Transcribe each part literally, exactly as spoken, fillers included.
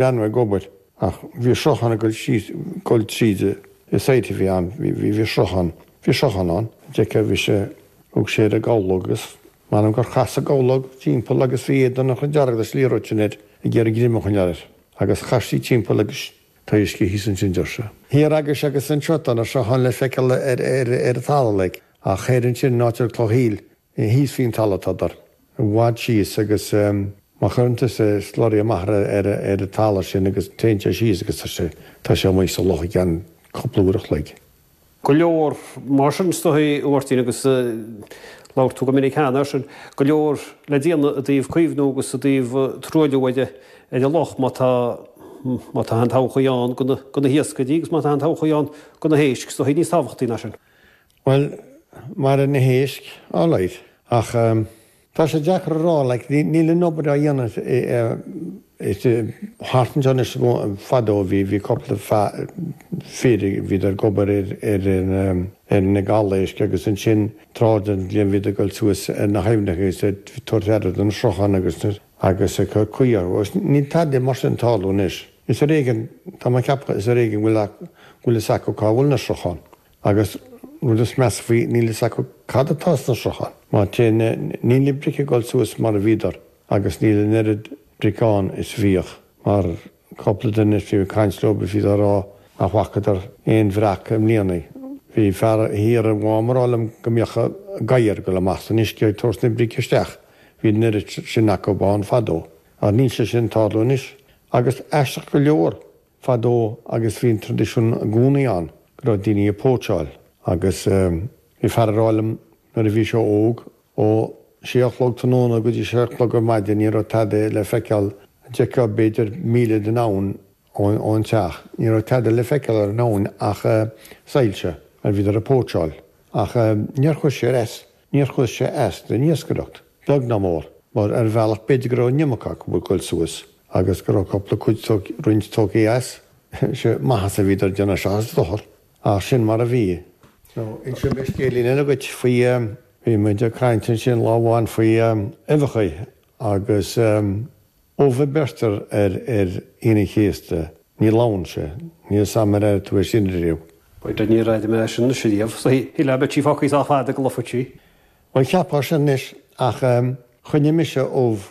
Breathnú ag obair ach bhí sruthán ag dul síos dul tríd is áit a bhí ann bhí bhí sruthán bhí sruthán ann deirtear bhí sé thug sé ar an gabhlóg agus m'anam gur chas an gabhlóg timpeall agus bhí éadan chomh dearg leis an liathróid sin air ag iarraidh greim a choinneáil air agus chas sí timpeall agus tá uisce thíos ansin deir sé. Thiar agus agus anseo tá na srutháin le feiceáil ar ar ar an talamh like ach thoir ansin in áit ar Cloch Hill thíos faoin talamh tádar i bhfad síos agus má chuireann tusa slurry amach ar ar ar an talamh sin agus téann sé síos agus tá sé tá sé amuigh sa loch i gceann cúpla uair a chloig. Go leor mar sin is dóigh a Mháirtín agus labhair tú go minic cheana air sin, go leor le déanamh i dtaobh caomhnú agus i dtaobh truailliú ar ar an loch má tá má tá an todhchaí ann do na hiascairí agus má tá an todhchaí ann do na héisc, is dóigh níos tábhachtaí ná sin. Bhuel, mar na héisc, alright, ach tá sé deacair a rá, like, níl an obair á dhéanamh thart anseo anois fadó bhí bhí cúpla fir bhíodar ag obair ar ar ar na gabhal-éisc agus ansin tráth den bhliain bhíodar ag dul suas ar na haibhneacha agus ag tabhairt aire don sruthán agus agus ag cur caoi orthu. Agus níl tada mar sin ag tarlú anois. Is ar éigean, tá mé ag ceapadh, is ar éigean go bhfuil go bhfuil fhios acu cá bhfuil na srutháin. Agus rud is measa faoi, níl fhios acu cad atá sna srutháin. Má téann, níl na bric ag dul suas mar a bhíodar agus níl an oiread bric ann is a bhíodh mar cúpla duine bhí ag caint leo bhí siad á rá nach bhfacadar aon bhreac i mbliana. Bhí fear thiar i Mhám ag rá liom go mbíodh gadhair ag dul amach san uisce ag tabhairt na brice isteach. Bhí an oiread sin acu ann fadó. Ach níl sé sin ag tarlú anois. Agus aisteach go leor, fadó agus bhí an traidisiún i gcónaí ann go raibh daoine ag póitseáil agus bhí fear ag rá liom nuair a bhí sé óg ó sé a chlog tráthnóna go dtí sé a chlog ar maidin ní raibh tada le feiceáil, d'fheicfeá b'fhéidir míle den abhainn ón teach, ní raibh tada le feiceáil ar an abhainn ach soilse mar bhíodar ag póitseáil. Ach níor chuir sé as, níor chuir sé as don iascaireacht, beag ná mór, mar ar bhealach b'fhéidir go raibh an iomarca acu ag dul suas agus go raibh cúpla cuid roinnt tógtha as. Sé maitheas a bhíodar ag déanamh seachas dochar. Ach sin mar a bhí. So, inseoidh mé scéilín eile dhuit faoi, bhí muid ag caint ansin lá amháin faoi uibheacha agus ubh a beirtear ar ar Aoine an Chéasta, ní lobhann sé. Níl 'fhios a'm ar airigh tú é sin riamh. B'fhéidir níor airigh mé é sin anois riamh. Shílfeá beadh sí fágtha sách fada go lobhfadh sí. Bhuel, cheapfá sin anois ach choinnigh mise ubh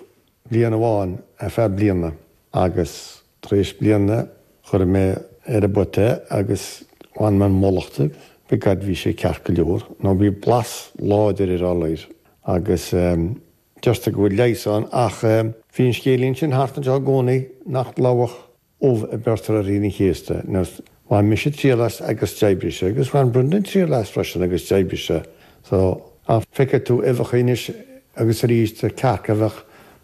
bliain amháin ar feadh bliana agus tar éis bliana chuir mé ar an bpota é agus bhain mé an mullach de, begod bhí sé ceart go leor, nó bhí blas láidir air alright agus deirtear go bhfuil leigheas ann ach bhí an scéilín sin thart anseo i gcónaí nach lobhadh ubh a beirtear ar Aoine an Chéasta. Now bhain mise triail as agus d'oibrigh sé agus bhain Brendan triail as freisin agus d'oibrigh sé so ach feicfidh tú uibheacha anois agus arís cearca a bheadh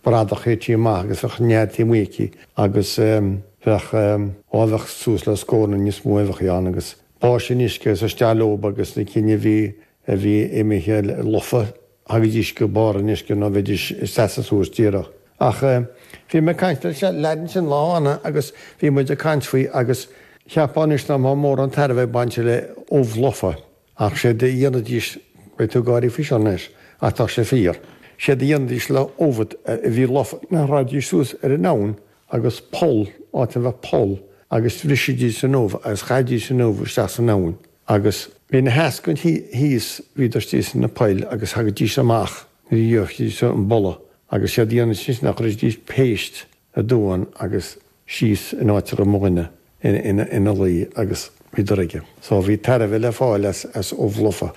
bradach tite amach agus bheadh nead taobh amuigh aici agus bheadh á bheadh suas le scór nó níos mó uibheacha ann agus báis in uisce agus isteach leob agus na cinn a bhí a bhí imithe lofa thagaidís go barr an uisce nó bheidís ag seasamh suas díreach. Ach bhí mé ag caint leis an leaid ansin lá amháin agus bhí muid ag caint faoi agus cheapfá anois nach mbeadh mórán tairbhe ag baint le ubh lofa ach séard a dhéanfaidís, beidh tú ag gáirí faoi seo anois ach tá sé fíor, séard a dhéanfaidís le ubh a bhí lofa ná raghaidís suas ar an abhainn agus poll, áit a mbeadh poll agus bhrisidís an ubh agus chaithidís an ubh isteach san abhainn agus bhí na heascainn thíos, bhíodar istigh sna poill agus thagaidís amach nuair a gheobhaidís an boladh agus séard a dhéanaidís ná chuiridís péist aduain agus síos in áit a raibh mo dhuine ina luí agus bhíodar aige. So bhí tairbhe le fáil as as ubh lofa.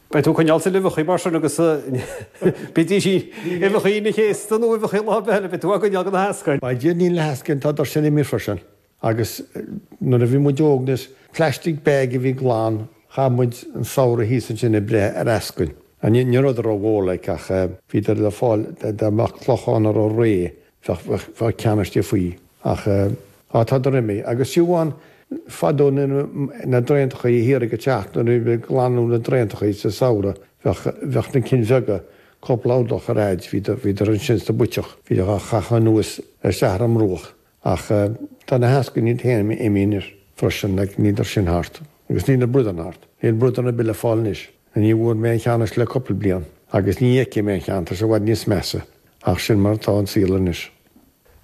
Beidh tú ag coinneáil tuilleadh uibheacha mar sin agus bídís uibheacha Aoine an Chéasta nó uibheacha lá ar bith eile, beidh tú á gcoinneáil do na heascainn. By Dia níl na heascainn, tá sin imithe freisin. Agus nuair a bhí muid óg anois, plastic bag a bhí glan, chaith muid an samhradh thíos ansin ag breith ar eascainn. Ní ní rabhadar rómhór like ach bhíodar le fáil dá mbeadh clochán a raibh réidh bheadh bheadh ceann istigh faoi. Ach á tádar imithe. Agus fiú amháin fadó nuair na draentachaí thiar ag an teach nuair a bhí ag glanadh na draentachaí sa samhradh bheadh bheadh na cinn bheaga cúpla orlach ar fhaid bhíodar bhíodar ansin sa bpuiteach bhíodar á chaitheamh anuas isteach ar an mbruach. Ach tá na heascainí iad féin imithe anois freisin, like níl sin thart. Agus níl na bradáin thart. Níl bradán ar bith le fáil anois. Ní bhfuair mé aon cheann anois le cúpla bliain. Agus ní fheicfidh mé aon cheann, tá sé i bhfad níos measa. Ach sin mar atá an saol anois.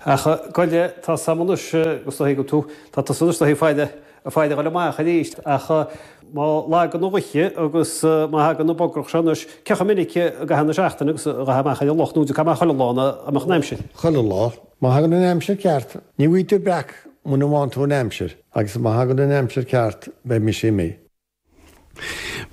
Ach goile tá sam anois agus go tú tá tusa anois ag faire faire a ghoil amach arís ach má lagann an ghaoth agus má thagann an bogarach seo anois cé chomh minic i gcaitheamh na seachtaine agus a ghabh amach ar an loch nó cá chuile lá a mbeadh an aimsir. Chuile lá, má thagann an aimsir ceart, ní bhfaighidh tú breac muna bhfaigheann tú an aimsir agus má thagann an aimsir ceart beidh mise imithe.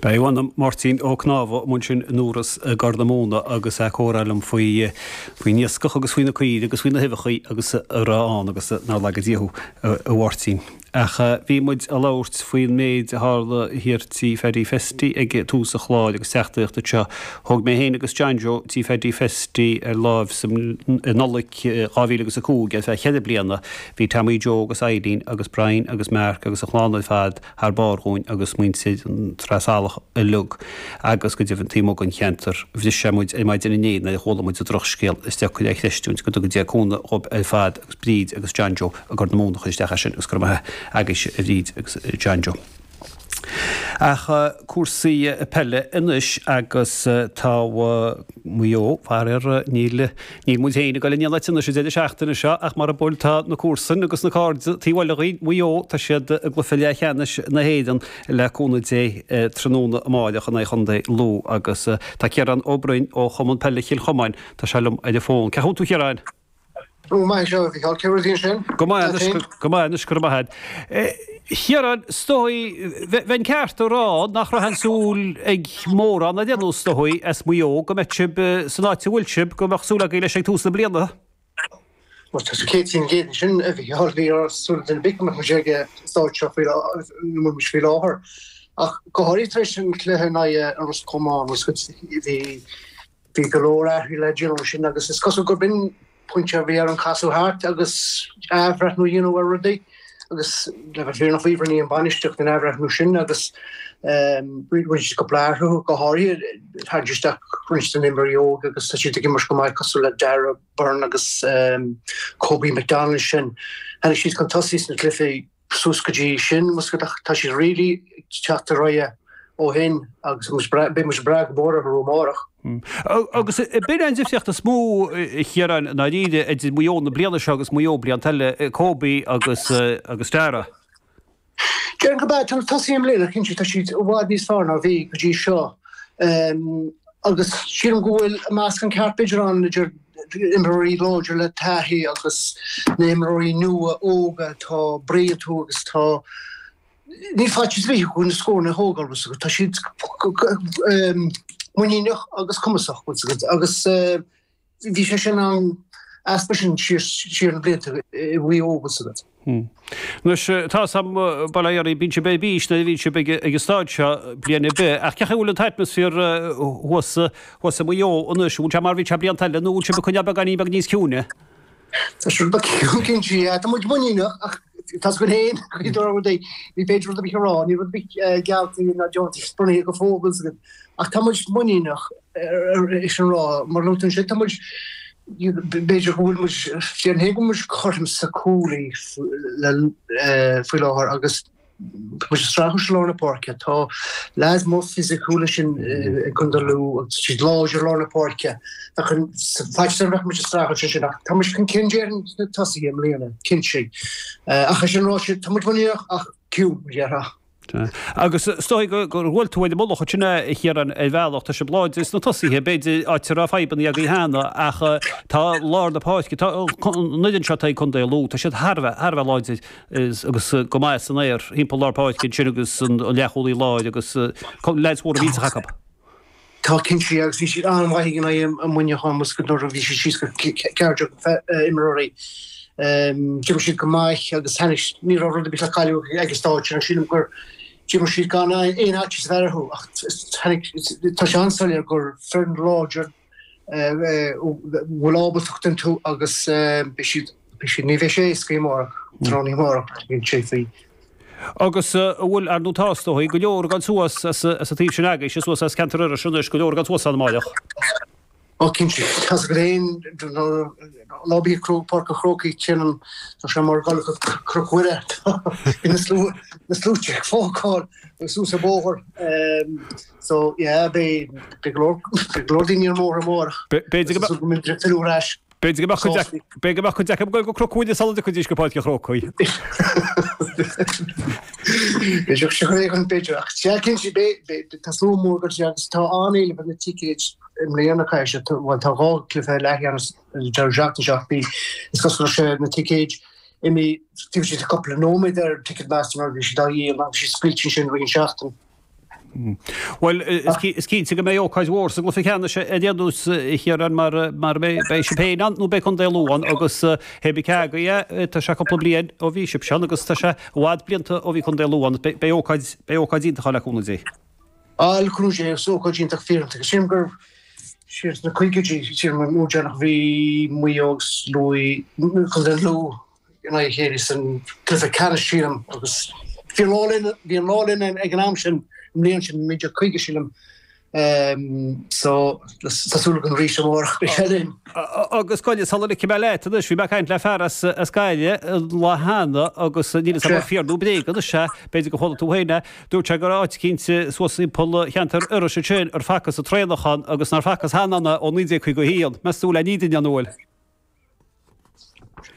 B'é Máirtín Ó Cnámha ansin in Iorras i gCorr na Móna agus é ag comhrá liom faoi faoin iascach agus faoi na caoirigh agus faoi na huibheacha agus a raibh ann agus nár laga Dia thú a Mháirtín. Ach bhí muid ag labhairt faoin méid a tharla thiar tí Phaddy Festy ag tús an chláir agus teachtaireacht anseo. Thóg mé féin agus John Joe tí Phaddy Festy ar láimh sa i Nollaig dhá mhíle agus a cúig ar feadh cheithre bliana. Bhí Tommy Joe agus Eileen agus Brian agus Mark agus a chlann ar fad thar barr dhúinn agus muintir an Trá Salach uilig agus go deimhin taobh amuigh den cheantar. Bhris sé muid ar maidin inné nuair a chuala muid an drochscéal is deacair é a chreistiúint go dtuga Dia cúnamh dhóibh ar fad agus Bríd agus John Joe i gCorr na Móna a chuir isteach é sin agus go raibh maith agaibhse a Bhríd agus a John Joe. Ach cúrsaí peile anois agus tá Maigh Eo, faraor, níl níl muid féin ag dul in aon áit anois an deireadh seachtaine seo ach mara bhfuil tá na comharsain agus na cairde taobh eile dhúinn, Maigh Eo, tá siad i gcluiche leathcheannais na hÉireann le cúnamh Dé tráthnóna amáireach in aghaidh Chontae Lú agus tá Ciarán Ó Broin ó Chumann Peile Chill Chomáin, tá sé liom ar an bhfón. Cén chaoi a bhfuil tú a Chiaráin? Go maith seo, a Mhícheáil. Cén rudaí ansin? Go maith anois, go maith anois, go raibh maith agat. A Chiaráin, is dóigh, bheinn ceart a rá nach raibh aon súil ag mórán ar aon nós, is dóigh, as Maigh Eo go mbeadh sibh san áit a bhfuil sibh, go mbeadh súil agaibh leis ag tús na bliana. Bhuel, tá céad faoin gcéad ansin, a Mhícheáil. Ní raibh súil ag duine ar bith go mbeadh muid ag an stáid seo faoi ina bhfuil muid faoi láthair. Ach go háirithe tar éis an chluiche in aghaidh an Ros Comáin, bhí Bhí go leor athruithe le déanamh ansin agus is cosúil gurb in pointe a bhí ar an casadh thart agus athbhreithniú a dhéanamh ar rudaí agus le bheith fírinneach faoi rinne an bhainistíocht an athbhreithniú sin agus rinne siad cúpla athrú go háirithe tharraing isteach roinnt de na himreoirí óga agus tá siad ag imirt go maith cosúil le Darragh Byrne agus Kobe McDonald sin. Tháinig siad chun tosaigh sna cluichí suas go dtí sin, ach tá siad really ag teacht ar aghaidh ó shin agus beidh muid ag brath go mór orthu amárach. Agus b'in an difríocht is mó, a Chiaráin, i ndáiríre, idir Maigh Eo na bliana seo agus Maigh Eo blianta eile, Kobe agus agus Darragh. Déarfainn gurb ea. Tá na tosaithe i mbliana, cinnte, tá siad i bhfad níos fearr ná a bhí go dtí seo. Agus sílim go bhfuil meascán ceart b'fhéidir ann idir imreoirí láidir le taithí agus na himreoirí nua óga tá brí iontu agus tá níl faitíos ar bith orthu na scóranna a thógáil tá siad muiníneach agus cumasach agus bhí sé sin an easpa sin siar na blianta i Mhaigh Eo agus. Anois, tá 'fhios a'm, bail ó Dhia oraibh, bíonn sibh ar bís nuair a bhíonn sibh ag an staid seo bliain ar bith, ach cén chaoi a bhfuil an t-atmaisféar thuas thuas i Maigh Eo anois, an bhfuil sé mar a bhí sé blianta eile nó an bhfuil sibh ag coinneáil beagáinín beag níos ciúine? Tá sé rud beag ciúin cinnte, yeah. Tá muid muiníneach ach tá 'fhios againn féin go dtarlóidh rudaí. Ní féidir rud ar bith a rá, níl rud ar bith geallta ná deonta bronnta go fóill ach tá muid muiníneach. É sin a rá, mar a luaigh tú ansin, tá muid, b'fhéidir go bhfuil muid, déarfainn féin go bhfuil muid cothrom sa cúlaí faoi láthair agus tá muid ag streachailt i lár na páirce. Tá leaids mór fisiciúil ansin i gContae Lú agus tá siad láidir i lár na páirce. Bheadh an faitíos orm bheadh muid ag streachailt ansin ach tá muid chun cinn déarfainn sna tosaithe i mbliana, cinnte. Ach é sin ráite, tá muid muiníneach ach ciúin, mar a déarfá. Agus is dóigh gur bhuail tú ar an mullach ansin a Chiaráin ar bhealach, tá sibh láidir sna tosaithe, b'fhéidir, áit a raibh fadhbanna agaibh cheana, ach tá lár na páirce, tá an fhoireann seo atá ag Contae Lú, tá siad thar a bheith, thar a bheith láidir agus go maith san aer thimpeall lár páirce ansin agus an leathchúlaí láir agus leaids mhóra mhillteacha acu. Tá cinnte, agus bhí siad an-mhaith in aghaidh Muineachán nuair a bhí siad síos go ceathair déag imreoirí. D'imir siad go maith agus tháinig, ní raibh rud ar bith le cailleadh ag an stáid sin ach sílim gur d'imir siad gan aon fhaitíos a bheith orthu ach tháinig, tá sé an-soiléir gur foireann láidir a bhfuil ábaltacht iontu agus beidh siad, beidh siad, ní bheidh sé éasca amárach, tráthnóna amárach, cinnte faoi. Agus an bhfuil, ar ndóigh tá, is dóigh, go leor ag dul suas as an taobh sin agaibhse, suas as ceantar Iorrais anois, go leor ag dul suas ann amáireach. Ó cinnte, tá 's agat féin, lá ar bith ag Páirc an Chrócaigh, téann, tá sé mar dhul go Cnoc Mhuire, tá na sluaite ag fágáil suas an bóthar. So yeah, beidh go leor, beidh go leor daoine ar an mbóthar amárach. B'fhéidir go mbeadh. Go mbeidh filleadh ar ais. B'fhéidir go mbeadh go mbeadh cuid acu ag goil go Cnoc Mhuire sula dtiocfaidís go Páirc an Chrócaigh. B'fhéidir go b'fhéidir b'fhéidir ach sea cinnte beidh tá slua mór go dtí agus tá an-éileamh ar na ticéid i mbliana caithfidh sé bhuel tá dhá chluiche leathcheannais an deireadh seachtaine seo ach bhí is cosúil leis na ticéid imithe taobh istigh de cúpla nóiméad ar Ticketmaster mar bhí siad á dhíol agus bhí siad scaoilte ansin roinnt seachtain. Bhuel, is cinnte go mbeidh ócáid mhór sa gcluiche ceannais ar aon nós, a Chiaráin, mar mar beidh sibh féin ann nó beidh Contae Lú ann agus hé bí cé agaibh é, tá sé cúpla bliain ó bhí sibhse ann agus tá sé i bhfad blianta ó bhí Contae Lú ann. Beidh ócáid, beidh ócáid iontach ann le cúnamh Dé. Á, le cúnamh Dé, is ócáid iontach fíor-iontach. Sílim gur siar sna caogaidí, sílim an uair deireanach a bhí Maigh Eo agus Lú, Contae Lú, in aghaidh a chéile san gcluiche ceannais, sílim, agus bhí an lá linn, bhí an lá linn ag an am sin, an mbliain sin, naoi déag caoga, sílim, so tá súil agam arís amárach beidh sé linn. Agus gabh i leith, sula ligfidh mé leat anois, bhí mé ag caint le fear as as Gaillimh an lá cheana agus níl fhios agam an fíor nó bréag anois é, b'fhéidir gur chuala tú féin é, dúirt sé go raibh áit eicínt suas timpeall cheantar Iorrais ansin ar facthas an traonach ann agus nár facthas cheana ann é ó naoi déag caoga a haon. Meas tú an bhfuil aon fhírinne ann, an bhfuil?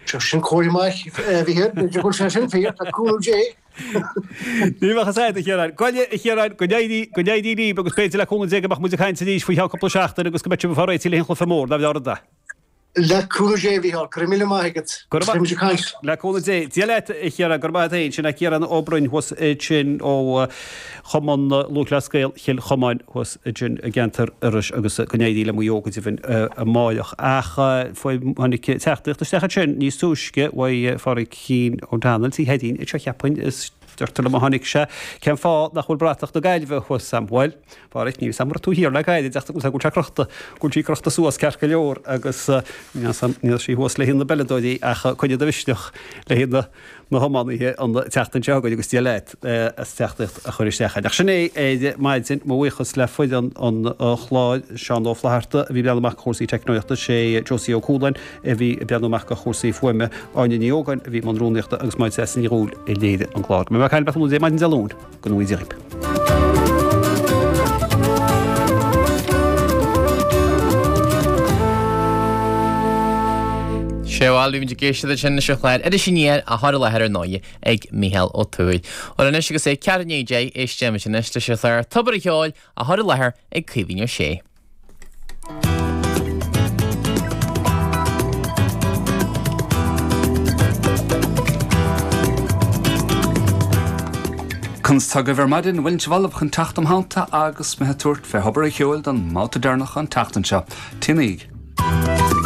Sin comhairle maith, a Mhícheáil, b'fhéidir go bhfuil sé sin fíor, le cúnamh Dé. Ní bheadh fhios agat, a Chiaráin. Gabh i leith, a Chiaráin, go n-éirí, go n-éirí libh agus b'fhéidir le cúnamh Dé go mbeadh muid ag caint arís faoi cheann cúpla seachtain agus go mbeidh sibh ag fáil réitithe le haghaidh an chluiche mór, ná bheadh rud é. Le cúnamh Dé, a Mhícheáil, go raibh míle maith agat. Go raibh maith. Beidh muid ag caint. Le cúnamh Dé. Dia leat, a Chiaráin, go raibh maith agat féin. Sin é Ciarán Ó Broin thuas ansin ó Chumann Lúthchleas Gael Chill Chomáin thuas ansin i gceantar Iorrais agus go n-éirí le Maigh Eo go deimhin amáireach. Ach tháinig teachtaireacht isteach ansin níos túisce uaidh Phádraigín O'Donnell, Tigh Sheáidín anseo cheapfainn, is deirtear liom a tháinig sé, cén fáth nach bhfuil bratach na Gaillimhe thuas a'm? Bhuel, Phádraig, níl 'fhios a'm an raibh tú thiar le gairid ach go bhfuil sé crochta, go bhfuil sí crochta suas ceart go leor agus níl 'fhios a'm, níl sí thuas le haghaidh na bpeileadóirí ach coinnigh do mhisneach le haghaidh na na hiománaithe an tseachtain seo chugainn agus Dia leat as teachtaireacht a chur isteach. Ach sin é ar maidin, mo bhuíochas le foireann an chláir, Seán Ó Flatharta a bhí ag breathnú amach do chúrsaí teicneolaíochta, sé Josie Ó Cualáin a bhí ag breathnú amach do chúrsaí fuaime, Áine Ní Ógáin a bhí i mbun rúnaíochta agus Máire Treasa Ní Dhubhghaill a léirigh an clár. Go mbeidh mé ag caint libh Dé maidin Dé Luain, go ngnóthaí Dia dhaoibh. Sea bhuel, bhí muid ag éisteacht ansin leis an chlár Iris Aniar á chur i láthair ar ndóigh ag Mícheál Ó Tuathail. Bhuel anois agus é ceathrú i ndiaidh a deich, éistimis anois leis an chlár Tobar an Cheoil á chur i láthair ag Caoimhín Ó Sé. Conas tá agaibh ar maidin? Bhfuil sibh ullamh chun teacht im theannta agus mé ag tabhairt fé Thobar an Cheoil don mbabhta deireanach an tseachtain seo? TnaG.